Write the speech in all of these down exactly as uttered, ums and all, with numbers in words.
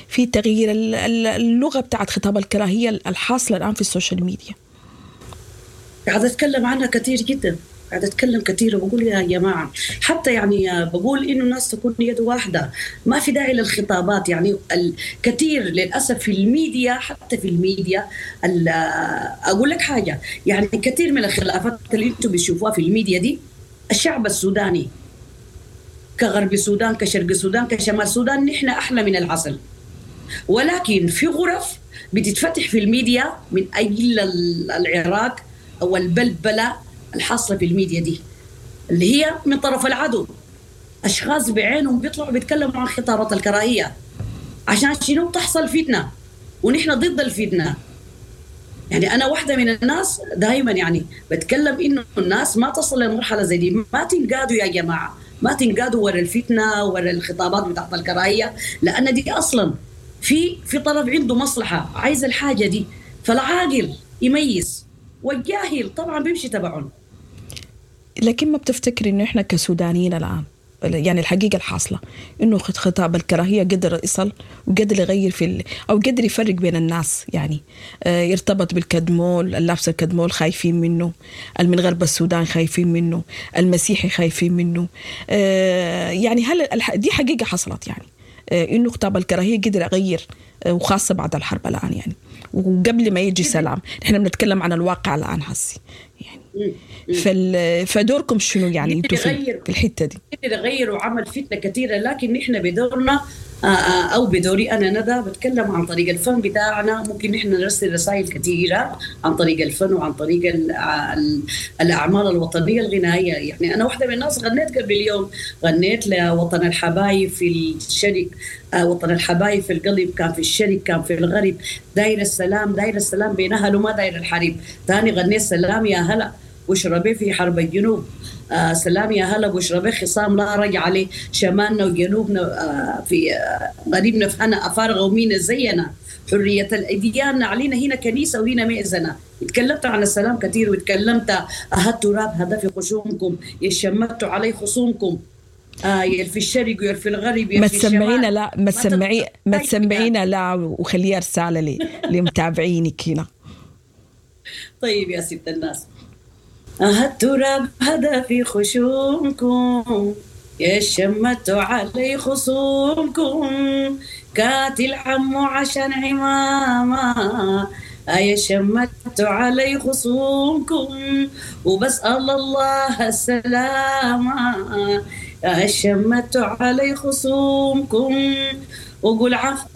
في تغيير اللغة بتاعت خطاب الكراهية الحاصلة الان في ال social media؟ قاعدة اتكلم عنها كثير جدا، قاعدة اتكلم كثير وبقول يا جماعة، حتى يعني بقول انه الناس تكون يد واحدة، ما في داعي للخطابات. يعني الكثير للاسف في الميديا، حتى في الميديا، اقول لك حاجة، يعني كثير من الخلافات اللي انتم بتشوفوها في الميديا دي، الشعب السوداني كغرب السودان كشرق السودان كشمال السودان، نحن احلى من العسل، ولكن في غرف بتتفتح في الميديا من اجل العراك او البلبلة الحاصلة في الميديا دي، اللي هي من طرف العدو، اشخاص بعينهم بيطلعوا بيتكلموا عن خطابات الكراهية عشان شنو؟ تحصل فتنة، ونحن ضد الفتنة. يعني انا واحدة من الناس دائما يعني بتكلم انه الناس ما تصل لمرحلة زي دي، ما تنقادوا يا جماعة، ما تنقادوا ورا الفتنة ورا الخطابات بتاعت الكراهية، لان دي اصلا في في طرف عنده مصلحة عايز الحاجة دي، فالعاقل يميز والجاهل طبعا بيمشي تبعهم. لكن ما بتفتكري انه احنا كسودانيين الان، يعني الحقيقة الحاصلة انه خطاب الكراهية قدر يصل وقدر يغير في ال... او قدر يفرق بين الناس، يعني آه يرتبط بالكدمول، اللابس الكدمول خايفين منه، من غرب السودان خايفين منه، المسيحي خايفين منه، آه يعني هل الح... دي حقيقة حصلت، يعني آه انه خطاب الكراهية قدر يغير، آه وخاصة بعد الحرب الان، يعني وقبل ما يجي سلام، نحن بنتكلم عن الواقع الان هسي يعني. فال... فدوركم شنو يعني انتوا في الحتة دي؟ غير وعمل فتنة كثيرة، لكن نحن بدورنا او بدوري انا ندى بتكلم عن طريق الفن بتاعنا، ممكن نحن نرسل رسائل كثيرة عن طريق الفن وعن طريق ال ال الاعمال الوطنية الغنائية. يعني انا واحدة من الناس غنيت قبل اليوم، غنيت لوطن الحبايب في الشرق، وطن الحبايب في القلب، كان في الشرق كان في الغرب، داير السلام داير السلام بين اهله ما داير الحريب. ثاني غنيت سلام يا هلا واشربي في حرب الجنوب، آه سلام يا هلا واشربي خصام لا رجع عليه، شمالنا وجنوبنا آه في آه غريبنا في هنا افارغه ومين زينا، حرية الاديان علينا هنا كنيسة وهنا مئذنه. تكلمت عن السلام كثير، وتكلمت اها التراب هذا في خشومكم يشمتوا علي خصومكم، آه يا في الشرق ويا في الغرب يا ما في تسمعينا، لا ما تسمعي ما تسمعينا لا، وخليها رسالة لي لمتابعينك هنا. طيب يا ست الناس، أها التراب هذا في خشومكم يا شمتوا علي خصومكم، كاتل عمو عشان عمامة يا شمتوا علي خصومكم، وبسأل الله السلامة يا شمتوا علي خصومكم، وقول عفو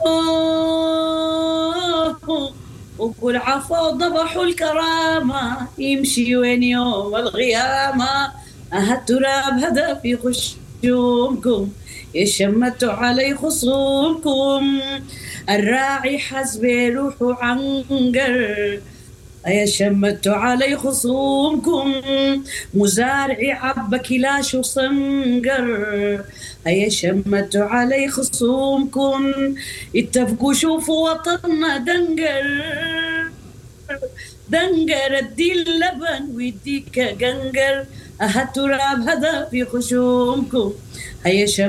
وقول عفو ضبحوا الكرامة، يمشي وين يوم الغيامة، أها التراب هذا في خشومكم يشمتوا علي خصومكم، الراعي حسب روحه عنقر يا شمتوا علي خصومكم، مزارعي عبى كلاش وصنقر يا شمتوا علي خصومكم، اتفقوا شوفوا وطننا دنقر دنقر، ادي اللبن ويديك قنقر، أها التراب هذا في خشومكم هيا شمتوا